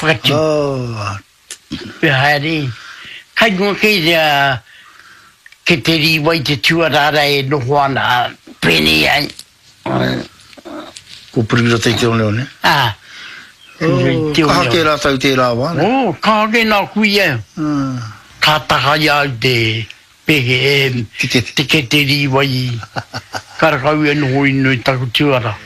Whakatū. Oh. Te haere. Kai runga kei rea ke te rīwai te tuarara e noho ana, pēnei ai. Ko Purikirata i te oneone? Ā. Oh, kaha kē rātou i tērā wā, nē? Oh, kaha kē nā kuia. Ka taka i a au te pēke, e, te kete rīwai, karakau e noho inu i taku tuara.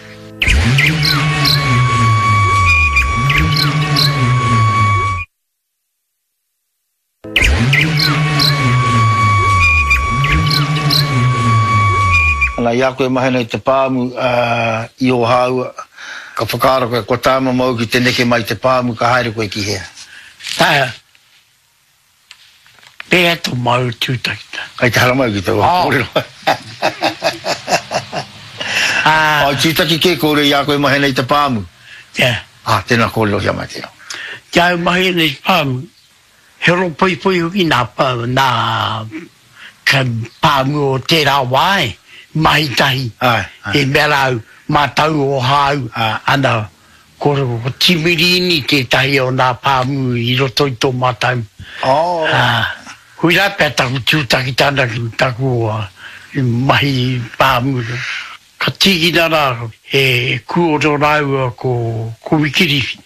Ana, i a koe e mahi ana i te pāmu i Ōhāua, ka whakaaro koe, kua taea mamau ki te neke mai i te pāmu, ka haere koe ki hea? Taea. Pēhea tō māua tūtakita? Kei te haramai ki taua kōrero. Ā, tūtaki kē kōrero i a koe e mahi ana i te pāmu? Yeah. Ā, tēnā kōrerohia mai tēnā. Ki a au mahi ana i te pāmu, he ropoipoi hoki nā, nā pāmu o tērā wā e, mahi tahi. Āe, āe. I mea rā au, mātau o hāu, ana, ko, ko Timirini tētahi o nā pāmu i roto i tō mātau. Oh. Ā, koirā pea taku tūtakitanga ki taku mahi pāmu. Ka tīkina rā e Kūoro rāua ko Wikiriwhi,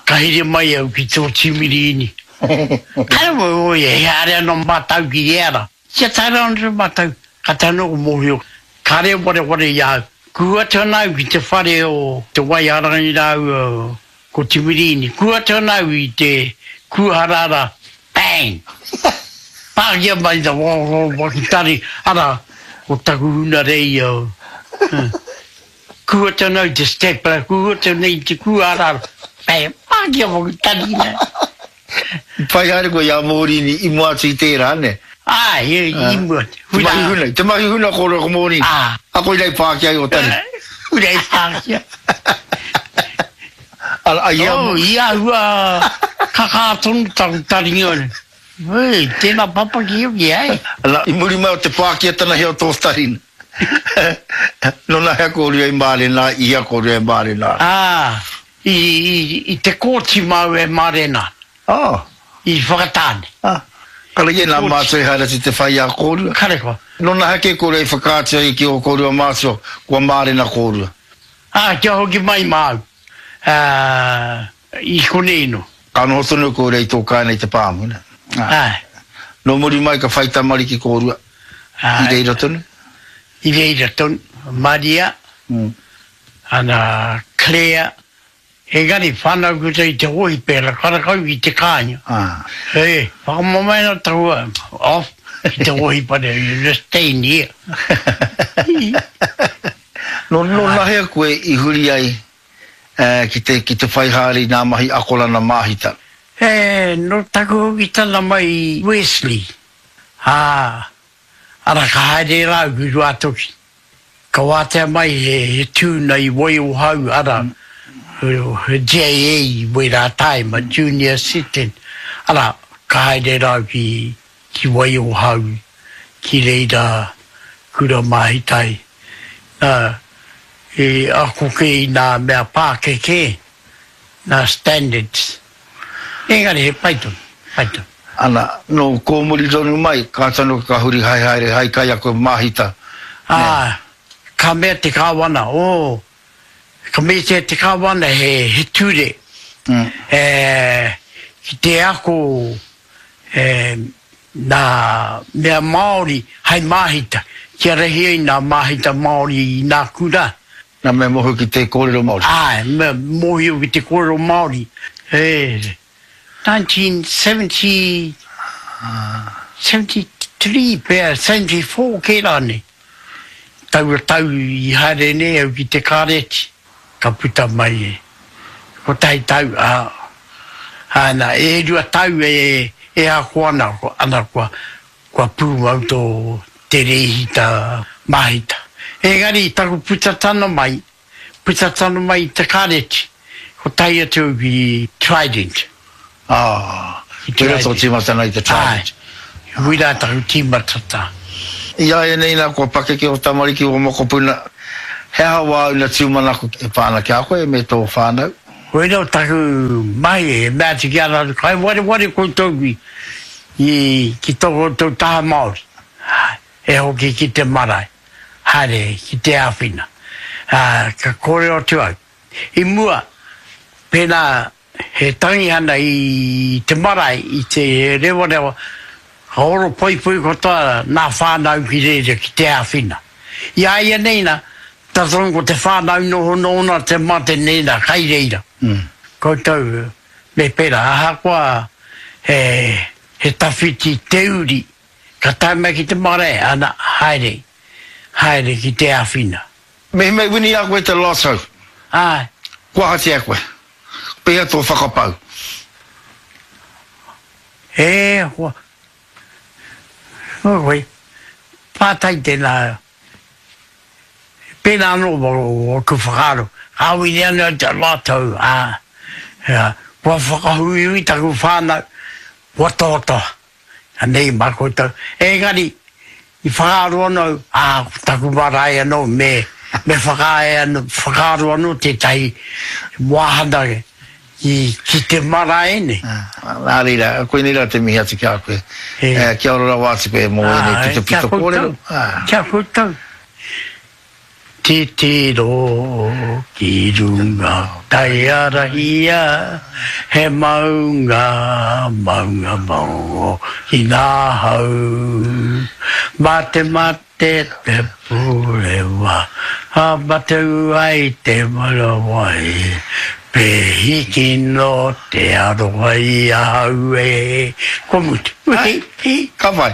ka here mai au ki tō Tīmiriini. Kāre au e haere ana mātau ki ēra. Kia tae rā anō mātau, kātahi anō ko mōhio, kāre e wareware i a au. Kuhu atu ana au ki te whare o Te Waiarangi rāua ko Tīmiriini. Kuhu atu ana au i te kūhara rā, Bang! Pākia mai te whakitari, arā, ko taku huna rei au. Kuhu atu ana au i te stapler, kuhu atu ana i te kūhara, bang! Pākia whakitari nei. I pai haere koe i a Mōrini i mua atu i tērā, nē? Āe, i mua atu. Te mahi huna, te mahi huna kōrua ko Mōrini. Ā. A koirā i pākia ai o tari. Koirā i pākia. Ara, i a. Oh, i āhua kakā tonu taku taringa. Hei, tēnā papaki hoki, ai. Ana, i muri mai o te pākiatana hea o tō taringa. Nōna hea kōrua i mārena, i hea kōrua e mārena ana? Ā, i, i, i te kōti māu e mārena. Oh. I Whakatāne. Ah. Kare nā mātua i haere atu te whai i a kōrua? Kare koa. Nōna hea kē kōrua i whakaatu ai ki ō kōrua mātua, kua mārena kōrua? Ā, kia hoki mai māu. Ā, i konei nō. Ka noho tonu kōrua i tō kāinga i te pāmu, nē? Āe. Nō muri mai ka whai tamariki kōrua, Āe. i reira tonu? I reira tonu. Maria, ana, Claire, engari whānau koutou i te hōhipera, karakau i te kāinga. Ē, whakamamae ana taku off ki te hōhipera, you just stay in here. Nō, nō nahea koe i huri ai ki te, ki te whai haere i ngā mahi akoranga māhita? Ē, nō taku hokitanga mai i Wesley, ā, ara ka haere rā au ki Ruātoki. Ka wātea mai he, he tūna i Waiohau, ara, he JA i wērā tāima, Junior Assistant, ara, ka haere rā au ki, ki Waiohau, ki reira kura māhita ai. Nā, i ako kē i nā mea pākeke, nā standards. Engari he pai tonu, pai tonu. Ana, nō kōmuri tonu mai, ka tonu ka huri haehaere hai kaiako māhita, nē. Ā, ka mea te kāwana, oh, ka meatia te kāwana he, he ture, e, ki te ako, e, nā mea Māori hai māhita, kia rahi ai nā māhita Māori i nā kura. Nā mea mōhio ki te kōrero Māori. Āe, mea mōhio ki te kōrero Māori. E, 1970, 73 pea, 74 kē rānei. Taua tau i haere nei au ki te kāreti, ka puta mai e kotahi tau, ā, āna, e rua tau e, e ako ana, ana kua, kua pūmau tō te rēhita māhita. Engari taku puta tana mai, puta tana mai i te kāreti, ko tae atu au ki Trident. Ā, koirā tō tīmatanga i te Trident. Āe, koirā taku tīmatata. I āianei nā kua pakeke ō tamariki, ō mokopuna, he aha wāu na tūmanako e pā ana ki a koe me tō whānau? Koina o taku mahi e mea atu ki a ratou, kai wareware koutou ki, ki, ki to koutou taha Maori, e hoki ki te marae, haere ki te awhina. A, ka korero atu au. I mua, pena he tangihana i te marae, i te rewarewa, ka oro poipoi katoa na whanau ki reira ki te awhina. I a ia nei na, Tata ko te whanau noho nona te mate nena kai reira. Koutou me pera ahakoa he he tawhiti te uri ka tae mai ki te marae ana haere haere ki te awhina. Mehemea i wini i a koe te lotto, Ae. kua ahatia koe? Pehea tō whakapau? E hoa. Oi, pātai tēnā. Pēnā anō ōku whakaaro, ka wini anō te rātou, ā, kua whakahuihui taku whānau, kua tohatoha, anei mā koutou. Engari, i whakaaro anō au, ā, ko taku marae anō, me, me whakaae anō, whakaaro anō tētahi wāhanga ki, ki te marae nei. Nā reira, koinei rā te mihi atu ki a koe. Kia ora rawa atu koe mō ēnei pitopito kōrero. Kia koutou. Titiro ki runga Taiarahia, he maunga, maunga maongo ki ngā hau. Mā te mate te purewa, ka mate ai te marawa e, Pēhi kino te aroha i ahau e. Kua mutu. Ka pai.